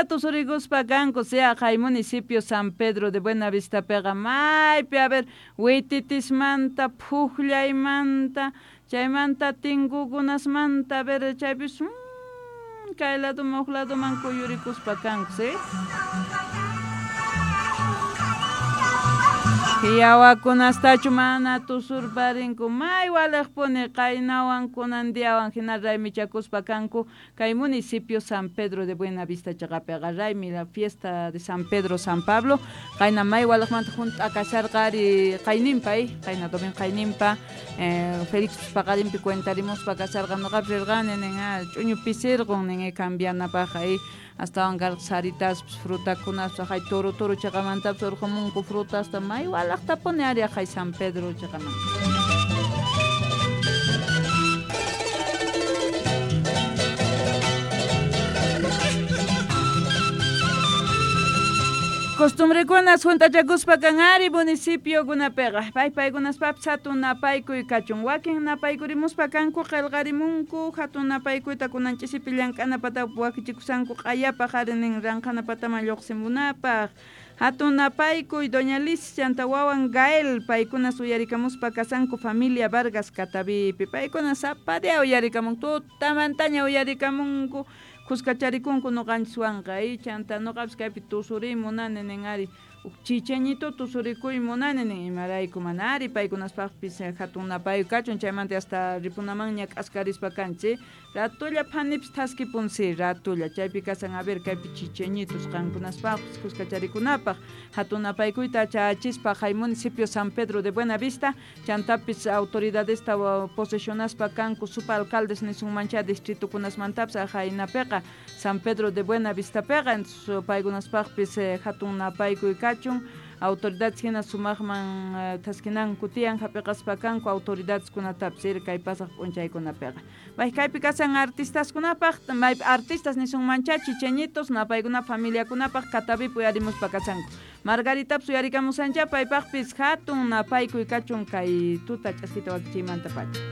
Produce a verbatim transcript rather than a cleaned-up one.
Allinta tusurikuspa kanku sea kay municipio San Pedro de Buenavista piqa maypi a ver wititismanta phuqllaymanta chaymanta tinkukunasmanta a ver chaypis mmm, kay laduman huk laduman kuyurikuspa kanku sí. Yawakunastachu mana tusurparinku may waliqpuni qaynawan kunan diawan hina raymichakuspa kanku kay municipio San Pedro de Buenavista chaqapiqa raymi la fiesta de San Pedro San Pablo qayna may waliqmanta hunt'a kasharqa ari qayninpa qayna domingo qayninpa eh, Felix paqarinpi cuentarimuspa kasharqa nuqapis rirqani nin ch'uñu pisirqun nin cambianapaq astawan karqa saritaspas frutakunaspas hay toro toro chaqamantapas urqumunku frutasta may walaqtapuni ari hay San Pedro chaqamanta. Costumbrekunas juntachakuspa kan ari municipio kunapiqa pay paykunaspapis hatun napaykuy kachun wakin napaykurimuspa kanku qillqarimunku hatun napaykuyta kunan ch'isipi llank'anapata wakichikusanku q'ayapaq ari nin ranqhanapataman lluqsimunapaq hatun napaykuy doña Liz chanta wawan Gael paykunas uyarikamuspa kasanku familia Vargas Catavipi paykuna sapa día uyarikamunku tutamantaña uyarikamunku kuskacharikunku nuqanchiswanqa chanta nuqapis kaypi tusuriy munani nin ari chicheñito tusurikuy munani nin imarayku mana ari paykunaspaqpis hatun napaykuy kachun chaymanta hasta ripunamanña k'askarispa kanchik ratulla phanipis thaskipunsi ratulla chaypi kasan a ver kaypi chicheñitos qankunaspaqpis kuskacharikunapaq hatun napaykuyta chayachispa hay municipio San Pedro de Buenavista chantapis autoridadesta posesionaspa kanku supa alcaldes nisunmancha distritukunasmantapis ajaynapiqa San Pedro de Buenavistapiqa paykunaspaqpis hatun napaykuy kachun autoridades hina sumaqman thaskinanku tiyan hap'iqaspa kanku autoridades kunatapis kay pasaq p'unchaykunapiqa bay kaypi kasan artistaskunapaq maypi artistas nisunmancha chicheñitos napaykuna familiakunapaq Catavipi uyarimuspa kasanku Margaritapis uyarikamusancha paypaqpis hatun napaykuy kachun kay tuta ch'askita wakichiymanta pacha.